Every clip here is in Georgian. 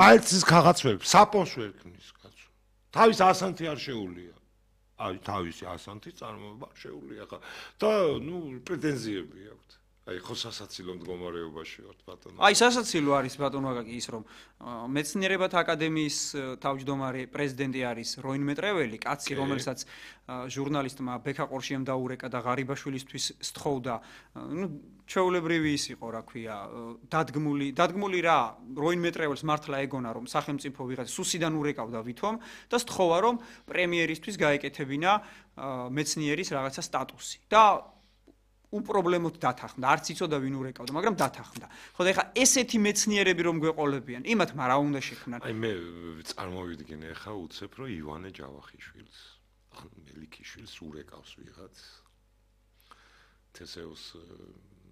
აიცის ქაღაც ვერ, საპონს ვერ ქნის კაცო. თავის ასანთი არ შეუულია. აი თავისი ასანთი წარმოება შეუულია ხა და პრეტენზიები აქვს. აი ხო სასაცილო მდგომარეობაში ვართ ბატონო. აი სასაცილო არის ბატონო აკაკი ის რომ მეცნიერებათა აკადემიის თავმჯდომარე პრეზიდენტი არის როინ მეტრეველი, კაცი რომელსაც ჟურნალისტმა ბექა ყორშიამ დაურეკა და ღარიბაშვილისთვის სთხოვდა, ჩვეულებრივი ის იყო, რა ქვია, დადგმული რა, როინ მეტრეველს მართლა ეგონა რომ სახელმწიფო ვიღაც სუსიდან ურეკავდა ვითომ და სთხოვა რომ პრემიერისთვის გაეკეთებინა მეცნიერის რაღაცა სტატუსი. და უპრობლემოდ დათანხმდა, არც იცოდა ვინ урეკავდა, მაგრამ დათანხმდა. ხო და ეხლა ესეთი მეცნიერები რომ გვეყოლებიან, იმათ რა უნდა შექმნან? აი მე წარმოვიდგინე ეხლა უცებ რომ ივანე ჯავახიშვილს, ან მელიქიშვილს урეკავს ვიღაც თესეუს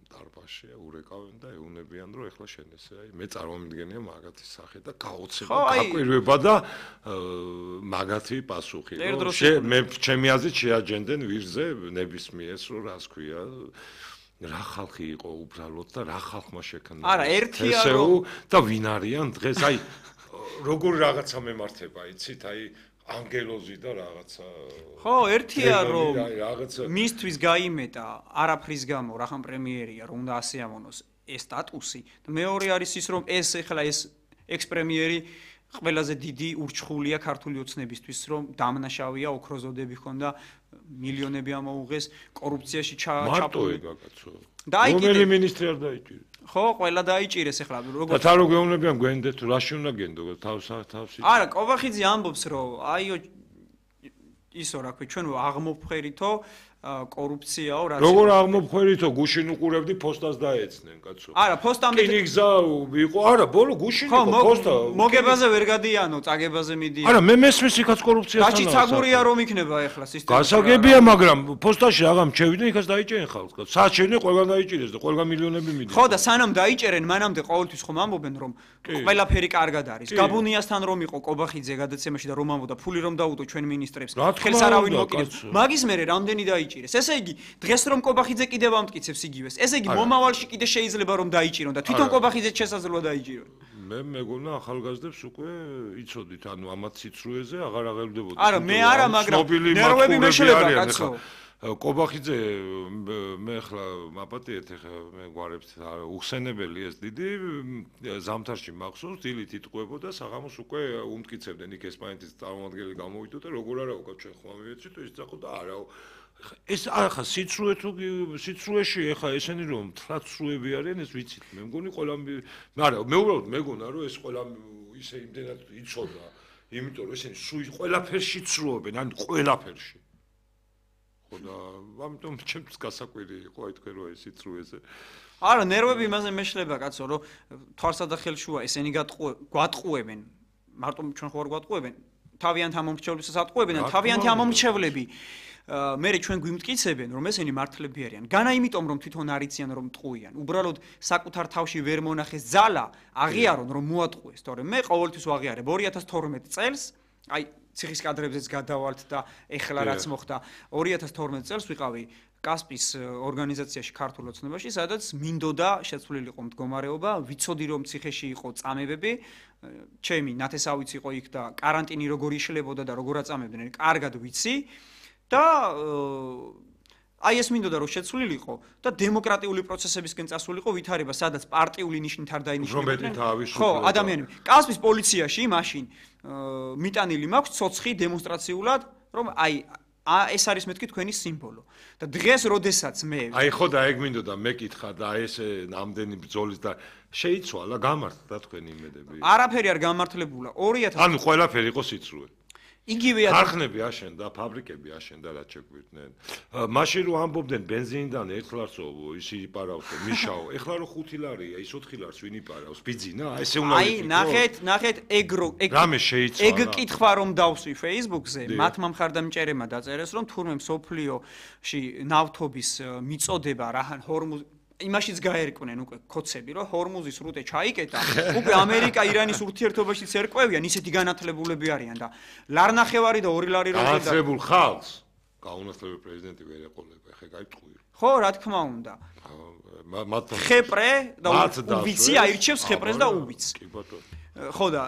დარბაზში урეკავენ და ეუნებიან რომ ეხლა შენ ესე აი მე წარმოვიდგენია მაგათი სახე და გაოცება გაკვირვება და მაგათი პასუხი რომ მე ჩემი აზრით შეაჯენდნენ ვირზე ნებისმიერს რომ რას ქვია რა ხალხი იყო უბრალოდ და რა ხალხმა შექმნა არა ერთია რომ და ვინ არიან დღეს აი როგორი რაღაცა მემართება იცით აი ანგელოზი და რაღაცა ხო ერთია რომ მისთვის გაიმეტა არაფრის გამო რახან პრემიერია რომ უნდა ასე ამონოს ეს სტატუსი და მეორე არის ის რომ ეს ეხლა ეს ექს-პრემიერი ყველაზე დიდი ურჩხულია ქართული ოცნებისთვის რომ დამნაშავია ოქროზოდები ხონდა მილიონები ამოუღეს კორუფციაში ჩაპული გაკაცო რომელი მინისტრი არ დაიჭირეს ხო ყველა დაიჭირეს ეხლა როგორ და თან რო გეუბნებიან გვენდეთ რაში უნდა გენდო თავსი არა კობახიძე ამბობს რომ აიო ისო რა ქვია ჩვენ აღმოფხერითო კორუფციაო რა როგორ აღმოფხერითო გუშინ უყურებდი ფოსტას დაეცნენ კაცო არა ფოსტამდე კინი გზა იყო არა ბოლო გუშინ იყო ფოსტა მოგებაზე ვერ გადიანო წაგებაზე მიდიან არა მე მესმის იქაც კორუფციასთან გაჩი ცაგურია რომ იქნება ეხლა სისტემა გასაგებია მაგრამ ფოსტაში აღამ ჩევიდნენ იქაც დაიჭერენ ხალხს კაცო საათ შევიდნენ ყველგან დაიჭირეს და ყველგან მილიონები მიდიან ხო და სანამ დაიჭერენ მანამდე ყოველთვის ხომ ამბობენ რომ ყველაფერი კარგად არის გაბუნიასთან რომ იყო კობახიძე გადაცემაში და რომ ამბობდა ფული რომ დაუდო ჩვენ მინისტრებს ხელს არავინ მოკიდებს მაგის მერე რამდენი დაიჭირეს ესე იგი დღეს რომ კობახიძე კიდევ ამტკიცებს იგივეს ესე იგი მომავალში კიდე შეიძლება რომ დაიჭირონ და თვითონ კობახიძეც შესაძლოა დაიჭირონ მე მეგონა ახალგაზრდებს უკვე იცოდით ანუ ამათ სიცრუეზე აღარ აღებდებოდი არა მე არა მაგრამ ნერვები მეშლება კაცო კობახიძე მე ახლა მაპატიეთ ახლა მე გვარებს უხსენებელი ეს დიდი ზამთარში მახსოვს დილით იტყვებოდა საღამოს უკვე უმტკიცებდნენ იქ ესპანეთის წარმომადგენელი გამოვიდა და როგორ არა უკაც ჩვენ ხომ ამივეცით ის ძახო და არაო ეს ახლა სიცრუე თუ სიცრუეში ახლა ესენი რომ თრაც სრუები არიან ეს ვიცით მე მგონი ყველა მაგრამ მე უბრალოდ მეგონა რომ ეს ყველა ისე იმდენად იცოდა იმიტომ რომ ესენი ყველაფერში ცრუობენ ან ყველაფერში ხო და ამიტომ ჩემთვის გასაკვირი იყო აი თქვენ რომ ეს სიცრუეზე არა ნერვები იმაზე მეშლება კაცო რომ თვალსა და ხელშუა ესენი გვატყუებენ მარტო ჩვენ ხო არ გვატყუებენ თავიანთ ამომრჩევლებსაც ატყუებენ და თავიანთი ამომრჩევლები მე ჩვენ გვიმტკიცებენ რომ ესენი მართლები არიან განა იმიტომ რომ თვითონ არიციან რომ მტყუიან უბრალოდ საკუთარ თავში ვერ მონახეს ძალა აღიარონ რომ მოატყუეს თორემ მე ყოველთვის ვაღიარებ 2012 წელს აი ციხის კადრებზეც გადავალთ და ეხლა რაც მოხდა 2012 წელს ვიყავი კასპის ორგანიზაციაში ქართულ ოცნებაში სადაც მინდოდა შეცვლილიყო მდგომარეობა ვიცოდი რომ ციხეში იყო წამებები ჩემი ნათესავიც იყო იქ და каранტინი როგორ იშლებოდა და როგორ აწამებდნენ კარგად ვიცი და აი ეს მინდოდა რომ შეცვლილიყო და დემოკრატიული პროცესებისკენ წასულიყო ვითარება სადაც პარტიული ნიშნით არ დაინიშნებოდნენ ხო ადამიანები კასპის პოლიციაში მაშინ მიტანილი მაქვს ცოცხი დემონსტრაციულად რომ აი ეს არის მეთქი თქვენი სიმბოლო და დღეს როდესაც მე აი ხო და ეგ მინდოდა მეკითხა და ეს ნამდვილი ბრძოლის და შეიცვალა გამართლა თქვენი იმედები არაფერი არ გამართლებულა 2000 ანუ ყველაფერი იყო სიცრუე იგივე ქარხნები აშენდა, ფაბრიკები აშენდა, რაც შეგვირდნენ. მაშინ რომ ამბობდნენ ბენზინიდან 1 ლარსო ისი იპარავსო, მიშაო. ეხლა რომ 5 ლარია, ის 4 ლარს ვინ იპარავს? ბიძინა? ესე უნდა აი, ნახეთ, რამე შეიცვალა. ეგ კითხვა რომ დავსვი Facebook-ზე, მათმა მხარდამჭერებმა დაწერეს, რომ თურმე მსოფლიოში ნავთობის მიწოდება რაჰან ჰორმუზ იმაშიც გაერკვნენ უკვე კოცები რომ ჰორმუზის რუტე ჩაიკეტა უკვე ამერიკა ირანის ურთიერთობაში ცერკვევიან ისეთი განათლებულები არიან და ლარნახევარი და 2 ლარი რომ განათლებულ ხალხს გაუნათლებელი პრეზიდენტი ვერ ეყოლება ხე გაიწყვი ხო რა თქმა უნდა ხეპრე და უბიცი აირჩევს ხეპრეს და უბიცს კი ბატონო ხო და